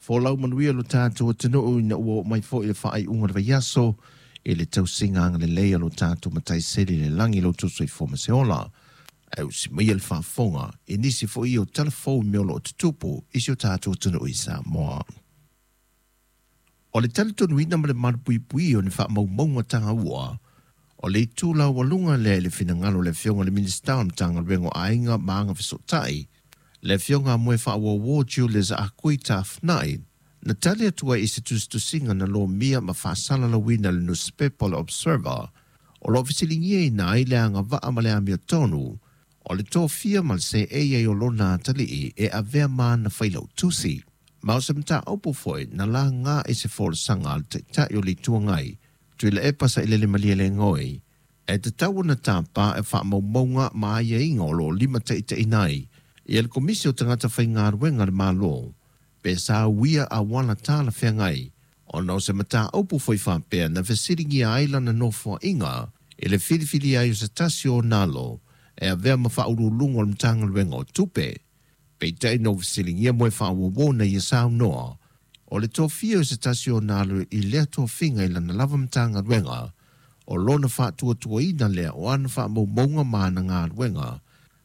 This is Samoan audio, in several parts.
Folau manuia lo tatou atunuu ina ua oo mai foi le faaiuga o le vaiaso i le tausiga agalelei a lo tatou Matai Sili i le lagi lo outou soifua ma se ola. Ae usi maia le faafofoga i nisi foi o tala fou i mea o lo o tutupu i si o tatou atunuu i Samoa. O le talitonuina ma le malupuipuia o ni faamaumauga taua, o le itu laualuga lea i le finagalo o le Afioga i le Minisita o le Matagaluega o Aiga ma Agafesootai, le Afioga a Moefaauouo Julius Ah Kui Tafnai, na tali atu ai i se tusitusiga na lomia ma faasalalauina e le nusipepa o le Observer, o lo o fesiligiaina ai le agavaa ma le amiotonu o le tofia ma le seei ai o lona atalii e avea ma ana failautusi. Ma o se mataupu foi na laga i se folasaga a le Taitai o le Itu Agai, Tuilaepa Sailele Malielegaoi, e tatau ona tapa e faamaumauga ma aiaiga o lo o limataitaiina ai ia le Komisi o Tagata Faigaluega a le Malo pe sa uia auala talafeagai ona o se mataupu foi faapea na fesiligia ai lana nofoaiga i le filifilia ai o se tasi o ona alo e avea ma faauluuluga o le Matagaluega o Tupe. Peitai na ua fesiligia Moefaauouo na ia saunoa o le tofia o se tasi o ona alo i lea tofiga i lana lava Matagaluega o lona faatuatuaina lea o ana faamaumauga ma ana galuega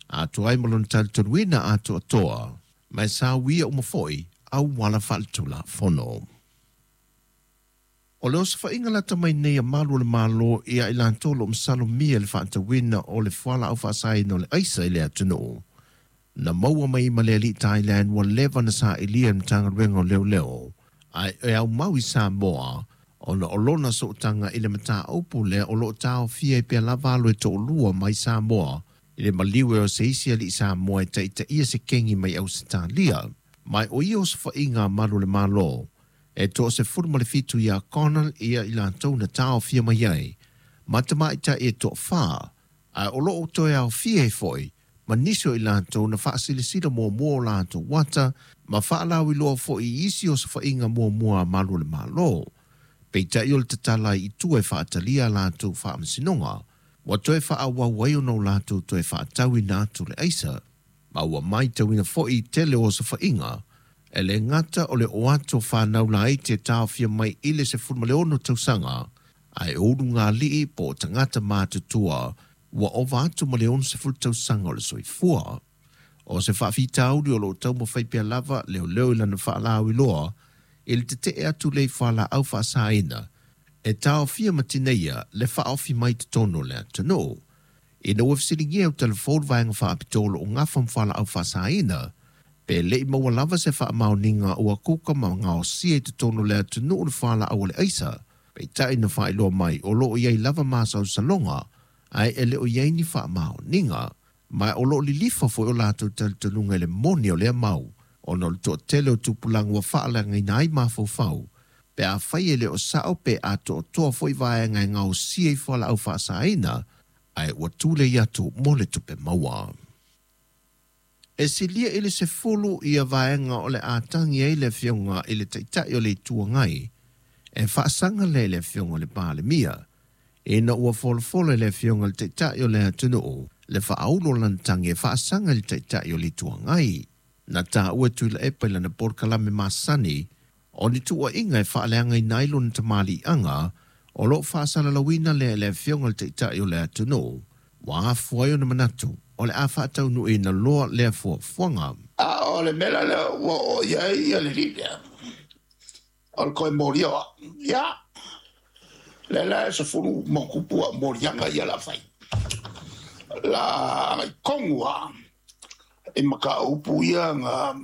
atoa ai ma lona talitonuina atoatoa ma e sa uia uma foi auala faaletulafono. O le osofaiga lata mai nei a malu o le Malo ia i latou o lo o masalomia i le faatauina o le fualaau faasaina o le aisa i le atunuu, na maua mai ma le alii Thailand ua leva na sailia e le Matagaluega o Leoleo ae e aumau i Samoa ona o lona sootaga i le mataupu lea o lo o taofia ai pea lava alo e toalua mai Samoa i le maliu e o se isi alii Samoa e taitaia se kengi mai Ausetalia. Ma o ia osofaiga a malu o le Malo e 17 ia Connell ia i latou na taofia mai ai ma tamaitai e toafa, ae o lo o toe aofia ai foi ma nisi o i latou na faasilasila muamua o latou ata ma faalauiloa foi i isi osofaiga muamua a malu o le Malo. Peitai o le tatala ai i tua e faatalia a latou faamasinoga, ua toe faaauau ai ona o latou toe faatauina atu le aisa. Ma ua matauina foi i tele o osofaiga, e le gata o le oo atu o fanau laiti e taofia mai i le 16 tausaga, ae o ulugalii po o tagata matutua ua ova atu ma le 60 tausaga o le soifua. O se faafitauli o lo o taumafai pea lava leoleo i lana faalauiloa i le tetee atu lea i fualaau faasaina e taofia ma tineia le faaofi mai totonu o le atunuu. Ina ua fesiligia e Utalafou le vaega faapitoa o lo o gafa ma fualaau faasaina, pe le i maua lava se faamaoniga ua kuka ma gaosia i totonu o le atunuu le fualaau o le aisa, peitai na faailoa mai o lo o i ai lava masalosaloga ae e le o i ai ni faamaoniga. Ma o lo o lilifa foi o latou talitonuga i le moni o lea mau, ona o le toatele o tupulaga ua faaleagaina ai mafaufau, pe afai e le o sao pe atoatoa foi vaega e gaosia i fualaau faasaina, ae ua tulei atu mo le tupe maua. E silia i le 10 ia vaega o le a tagi ai le Afioga i le Taitai o le Itu Agai e faasaga lea i le Afioga i le Palemia, ina ua folafola e le Afioga i le Taitai o le atunuu le faaulu o lana tagi e faasaga i le Taitai o le Itu Agai. Na taua e Tuilaepa i lana polokalame masani o ni tuuaiga e faaleagaina ai lona tamaliiaga o lo o faasalalauina lea e le Afioga i le Taitai o le atunuu, ua afua ai ona manatu o le a faataunuuina loa lea fuafuaga. A o le mea la lea ua oo i ai le alii lea, o le toe molia o au. Ia, lea la e 10 ma tupu au moliaga ia o le a fai. La agai tonu lava i mataupu ia na